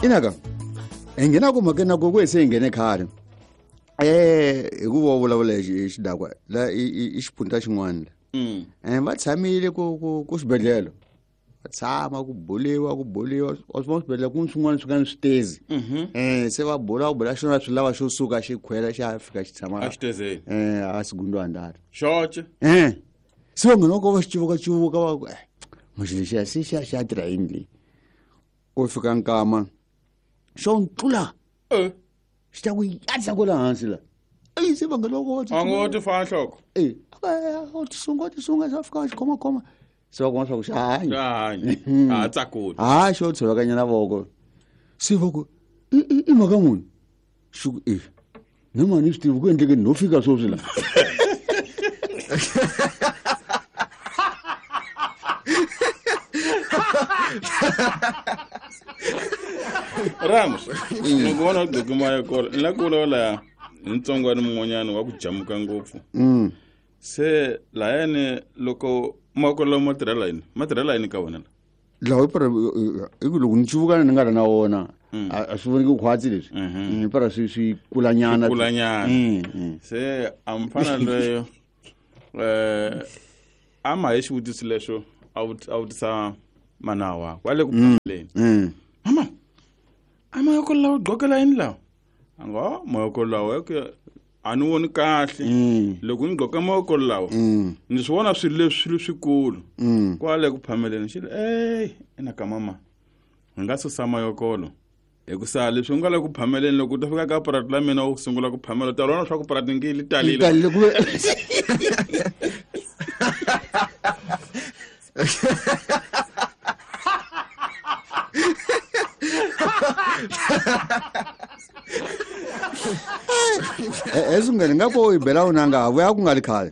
Inaka hi nghena ku mhakeni na ku ku se hi nghene khale hi ku va vulavula hi xidakwa la i xiphunta xin'wana la va tshamile ku xibedhlele va tshama ku buliwa wa swi vona swibedhlele ku swin'wana swi nga ni switezi se va bula ku bula xona swi lava xo suka xi khwela xi ya fika xi tshama a segundo andar xoxe se va nghena ko va xi civuka va ku maxi lexiya se xa xa tirha yini leyi ko fika nkama xo ntlula xi ta ku yatla kwala hansi la eyi se va nghena ko a ngo ti fana nhloko o tisunga sa fika xi khomakhoma se va kuma swa ku xa hanya a tsakuli ha xo tshovekanyana voko se va ku i mhaka muni xi ku e na mani swi tivi ku endlekeni no fika sweswi la Ramos loko vona u gqoke mayekolo ni la ku vulavula hi ntsongwana mun'wanyana wa ku jamuka ngopfu se layani loko makolo ma tirhela yini ma tirhela yini ka wena la lawa para i ku loko ni civukana ni nga ri na wona a swi voneki khwatsi leswi para swi kulanyana kulanyana se a mfana loyo a ma hi xivutiso lexo a vutisa mana wakwe a le ku phameleni mama a mayoko lawa gqokela yini lawa a ngo mayoko lawa a ni voni kahle loko ni gqoka mavoko lawa ni swi vona swilo leswi swilo swikulu kwale ku phameleni xi ey ina ka mama hi nga susa mayokolo hikusa leswi u nga le ku phameleni loko u ta fika ka purati la mina u sungula ku phamela u ta vona swa ku purati ngi li talile Esungene nga ko i bela unanga vuya ku nga ri khale.